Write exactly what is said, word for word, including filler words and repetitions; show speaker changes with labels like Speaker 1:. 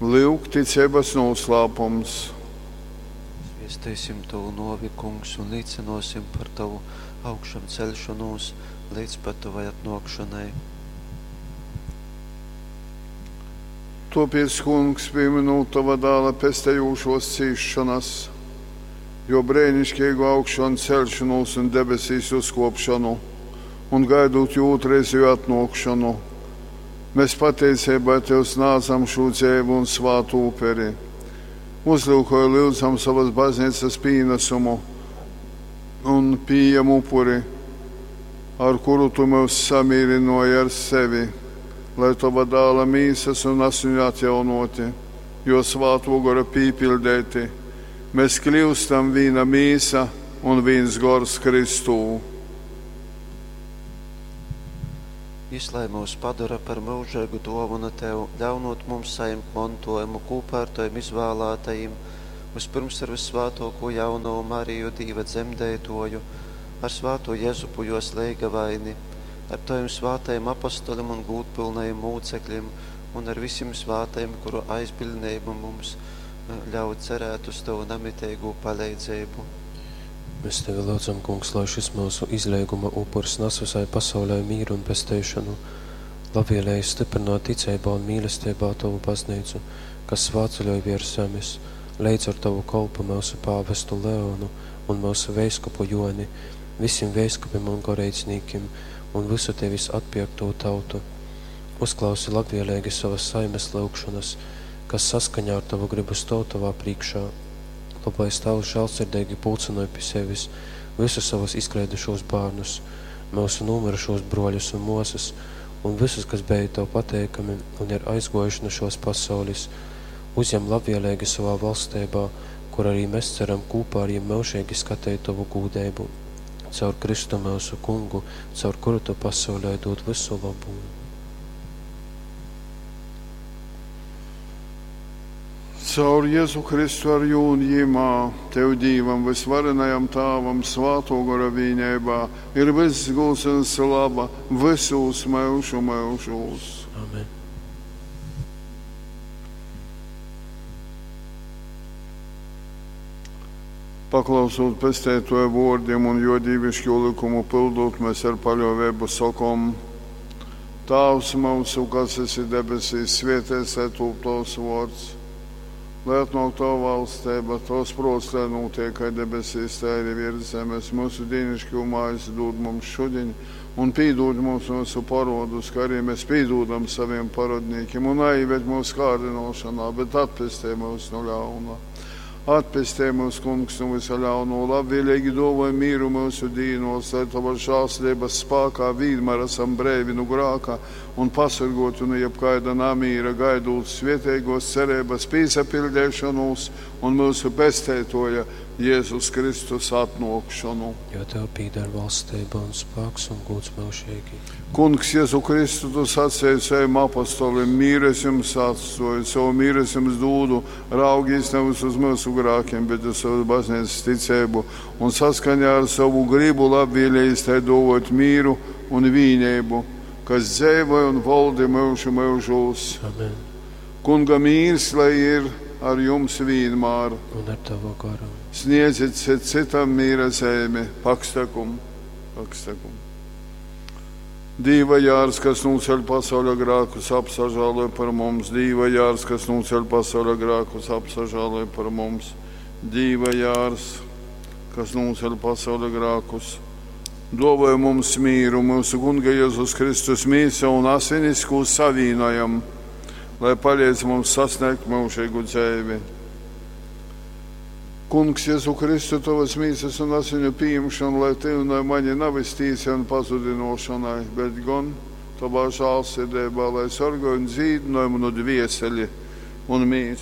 Speaker 1: Lyuk, ticeibas nūslāpums.
Speaker 2: Sviesteisim tovu nuovi, Kungs, un līcynuosim par tovu augšamceļšonūs leidz pat tovai atnuokšonai.
Speaker 1: Tuopiec, Kungs, pīmynūt tova dāla pestejūšuos cīsšonas, juo breiniškeigu augšanceļšonūs un debesīs uzkuopšonu, un gaidūt juo ūtrreizeju atnuokšonu, mēs pateiceibā tev snādzam šū dzeivu un svātu uperi. Uzlyukoj, lyudzam, sovas bazneicas pīnasumu un pījem upuri, ar kuru tu myus samīrynuoji ar sevi, lai tova dāla mīsas un asiņu atjaunoti, jo svātuo gora pīpiļdeiti, mēs kļūstam vīna mīsa un vīns gors Kristū.
Speaker 2: Jis lai myus padora par myužeigu duovonu tev, ļaunūt mums sajimt montuojumu kūpā ar tovim izvālātajim, vyspyrms ar vyssvātuokū jaunovu Mariju, Dīva dzemdeituoju, ar svātū Jezupu juos leigavaini, ar tovim svātajim apostolim un gūdpylnajim mūceklim un ar vysim svātajim, kuru aizbiļdneiba mums eh, ļauj cerēt uz tovu namiteigū paleidzeibu.
Speaker 3: Mēs tevi lyudzam, Kungs, lai šis myusu izleiguma upurs nas visai pasaulei mīru un pesteišonu. Labvēlīgi stiprināt ticeibā un mīlestībā tovu baznīcu, kas svātceļoj viers zemes, leidz ar tovu kolpu myusu pāvestu Leonu un myusu veiskupu Joni, visiem veiskupim un goreidznīkim un visu tevis atpierktū tautu. Uzklausi labvēlīgi savas saimes lyugšonas, kas saskaņā ar tavu gribu stōv tovā prīškā. Lobais Tēvs žēlsirdīgi pulcynoj pi sevis visus savus izkleidušos bārnus, myusu nūmyrušos bruoļus un muosys, un visus, kas bija tev pateikami un ir aizguojuši nu šos pasaulis, uzņem labvēlīgi savā valstībā, kur arī mēs ceram kopā ar jiem myužīgi skatīt tovu gūdeibu. Caur Kristu myusu kungu, caur kuru tu pasaulē dod visu labu.
Speaker 1: Caur Jēzu Kristu ar jū un jimā, tev Dīvam, vysvarenajam Tāvam, svātō gora vīneibā, ir vyss gūds un slava vysūs myužu myužūs.
Speaker 3: Amen.
Speaker 1: Paklausūt pesteitoja vuordim un juo dīviškū lykumu pyldūt, mēs ar paļuoveibu sokom: Tāvs myusu, kas esi debesīs, svietēts lai tūp tovs vuords. Lai atnāk tava valsteiba, tovs pruots, lai nūtiek kai debesīs, tai arī virs zemes. Myusu dīniškū maizi dūd mums šudiņ, un pīdūd mums myusu parodus, kā arī mēs pīdūdam saviem parodnīkim, un naieved mūsu kārdinošanā, bet atpestej mūs no ļauna. Atpestej mūs, Kungs, no visa ļauno, labvēlīgi dovoj mīru mūsu dīnos, lai tava žēlsirdības spākā vienmēr esam breivi no grāka un pasargoti no jebkaida namīra, gaidot svietēgos cerības pīsapildēšanos un mūsu pesteitoja Jēzus Kristus atnākšanu.
Speaker 3: Jo tev pīder valstība un spēks un gūds myužīgi.
Speaker 1: Kungs, Jēzu Kristu, tu sacīji saviem apostolim, mīru es jums atstoju, savu mīru es jums dūdu, raugīs nevis uz mūsu grākiem, bet uz savu baznīcas ticību un saskaņā ar savu gribu labvēlījis tai dovot mīru un vīnību, kas dzēvoja un valdi myužu myužūs.
Speaker 3: Amen.
Speaker 1: Kunga mīrs, lai ir ar jums vienmēr.
Speaker 3: Un ar tavu garu.
Speaker 1: Sniedziet cit citam mīra zemi, pakstekum, pakstekum. Dīva jārs, kas nūceļ pasauļa grākus, apsažāloj par mums. Dīva jārs, kas nūceļ pasauļa grākus, apsažāloj par mums. Dīva jārs, kas nūceļ pasauļa grākus, dovoj mums mīru, mūsu Kunga Jēzus Kristus mīsa un asinis, ko savīnojam, lai palīdz mums sasniegt mūžīgu dzēvi. Kungs, Jēzu Kristu, tavas mīsas un asiņu pieņemšanu, lai tev un mani nav iztīsi un pazudinošanai, bet gan tavā žālsirdībā, lai sargāj un dzīdinoj manu dvieseli un mīsu.